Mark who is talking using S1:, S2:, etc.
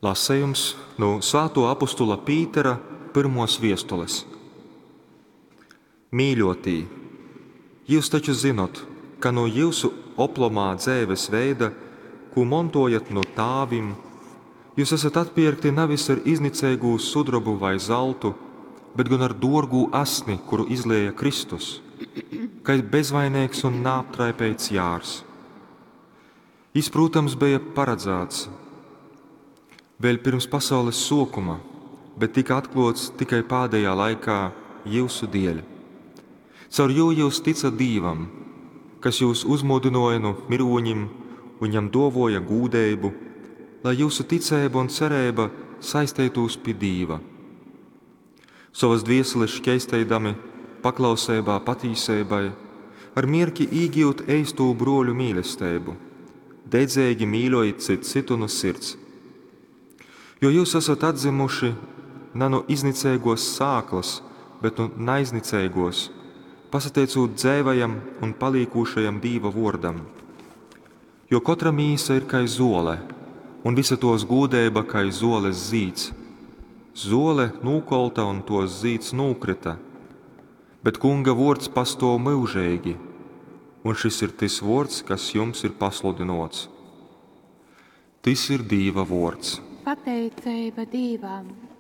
S1: Lasejums nu svātuo apustula Pītera pyrmuos viestules. Mīļōtī, jyus taču zynot, ka nu jyusu oplomā dzeives veida, kū montōjat nu tāvim, jyus asat atpierkti navis ar izniceigū sudrobu vai zaltu, bet gon ar dōrgū asni, kuru izlēja Kristus, kai bezvaineigs un naaptraipeits jārs. Jys, prūtams, beja paradzāts vēļ pyrms pasaules sōkuma, bet tyka atklōts tikai pādejā laikā jyusu dieļ. Caur jū jyus tycat Dīvam, kas jūs uzmūdynōja nu myrūņim un jam dōvōja gūdeibu, lai jyusu ticeiba un cereiba saisteitūs pi Dīva. Sovas dvieseles škeisteidami paklauseibā patīseibai, ar mierki īgiut eistū bruoļu mīlesteibu, dedzeigi mīļojit cyts cytu nu sirds. Jo jyus asat atdzymuši na nu izniceigōs sāklas, bet nu naizniceigōs, pasateicūt dzeivajam un palīkūšajam Dīva vōrdam. Jo kotra mīsa ir kai zōle, un vysa tōs gūdeiba kai zōles zīds. Zōle nūkolta un tōs zīds nūkryta, bet Kunga vōrds pastōv myužeigi. Un šys ir tys vōrds, kas jums ir pasludynōts. Tys ir Dīva vōrds.
S2: Pateiceiba Dīvam.